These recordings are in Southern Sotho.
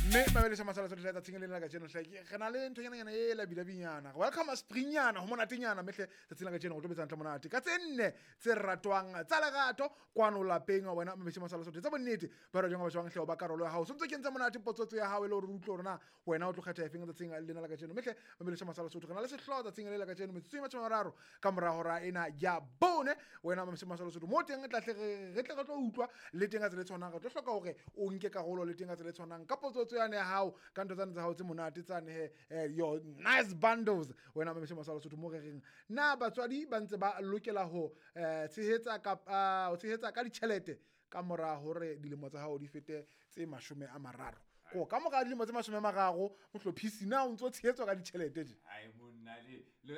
Mme mabelesa masala sotho tsatsing le lena kajeno hle re na le nthonyananyana e labilabinyana, welcome springnyana, ho monatenyana. Mehle tsatsing la kajeno go tlo betsa ntle monate ka tse nne tse ratwang tsa lerato kwano lapeng. Wena mabese masala sotho tsa bonnete ba re jwang ba jwang hle o ba karolo ya hao so ntse ke ntse monate potsotso ya hao e le hore re utlwe hore na wena o tlo kgetha efeng tsatsing lena la kajeno. Mehle mabelesa masala sotho re na le sehlooho tsatsing le la kajeno metsotso e 30 ka mora hora ena ya bone. Wena mabese masala sotho mo teng tla tle re tle re tlo utlwa le teng ka tsela e tshwanang, re tlo hloka hore o nke karolo le teng ka tsela e tshwanang ka potsotso yane ya hao, ka ntho tsane tsa hao tse monate tsane he, your nice bundles. Wena mabese masala sotho mo re reng na batswadi ba ntse ba lokela ho tshehetsa kapa ho tshehetsa ka ditjhelete ka mora hore dilemo tsa hao di fete tse 30? Ko ka mora dilemo tse 30, mohlophisi, na o ntso tshehetswa ka ditjhelete je? Ai monna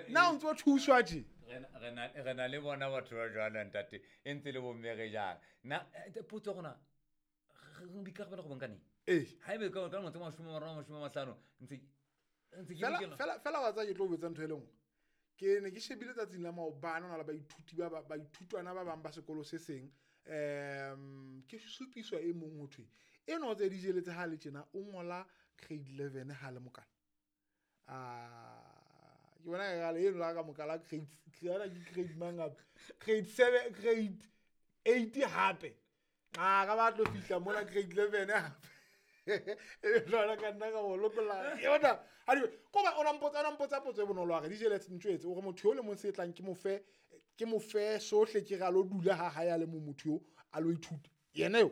Na o ntso thuswa je? Re na le bona batho ba jwalo, ntate, e ntse le bomme re jang na potso ya rona re boikarabelo go bonkaneng? Ee. Ha ebe ka lemo tse 30, 50 ntse ke fela lokela. Fela wa tsaya ke tlo o botsa ntho e le nngwe. Ke ne ke shebile tsatsing la maobane, ho na le baithuti ba baithutwana ba bang ba sekolo se seng, ke supiswa e mong ho thwe eno tse di jeletse ha le tjena o ngola grade 11 ha le mokana. Ah, ke bona e gale eno la ka mokala grade ke grade mang hape, grade 7, grade 8 hape, a ka ba tlo fihla mona grade 11 hape e jwalo ka nna ka mo lokolla yona. Ko ba o na mpotsa potso e bonolo a re dijele ntjwetse o re motho yo le mong se tlang ke mo fe sohle, ke re a lo dula ha hae a le mong, motho yo a lo ithuta yena eo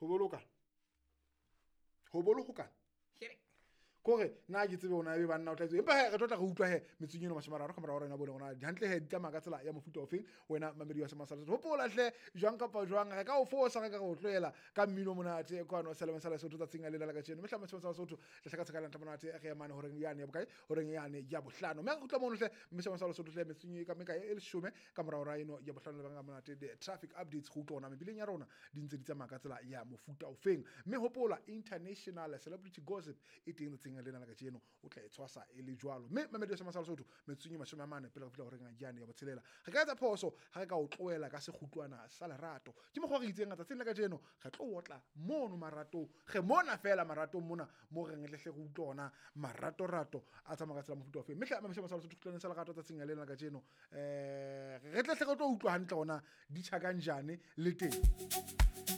ho bolokana ho bolokana kore nna ke tsebe ona ebe banna o tla itse, empa he re tlo tla re utlwa he metsotsong eno 30 ka mora hora ena bone gona hantle he di tsamaya ka tsela ya mofuta ofeng. Wena mamedi wa Semasala, hopola hle, jwang kapa jwang re ka o fosa, re ka re o tlohela ka mmino monate kwano seleme sa Lesotho tsatsing lena la kajeno. Mehla Semasala Sotho tle hle ka tshekala ntle monate re emane horeng yane ya bokae, horeng yane ya bohlano, mme re kgutla mono hle mme Semasala Sotho hle metsotsong e ka mekae e 10 ka mora hora eno ya bohlano le banga monate the traffic updates go utlwa ona mebileng ya rona di ntse di tsamaya ka tsela ya mofuta ofeng. Mme hopola international celebrity gossip e teng tsatsing lena la kajeno, o tla e tshwasa e le jwalo. Mme mamedi wa Semasala Sotho metsotsong e 40 pele re fihla horeng yane ya botshelela, re ka etsa phoso ha re ka o tlohela ka sekgutlwana sa lerato. Ke mokgwa re itseng tsatsing la kajeno re tlo otla mono maratong, re mona fela maratong mona mo reng le hle re utlwe ona maratorato a tsamaya ka tsela mofuta ofeng. Mme hle mamedi wa Semasala Sotho kgutlwaneng sa lerato tsatsing lena la kajeno, re tle hle re tlo utlwa hantle ona di tjha kanjane le teng.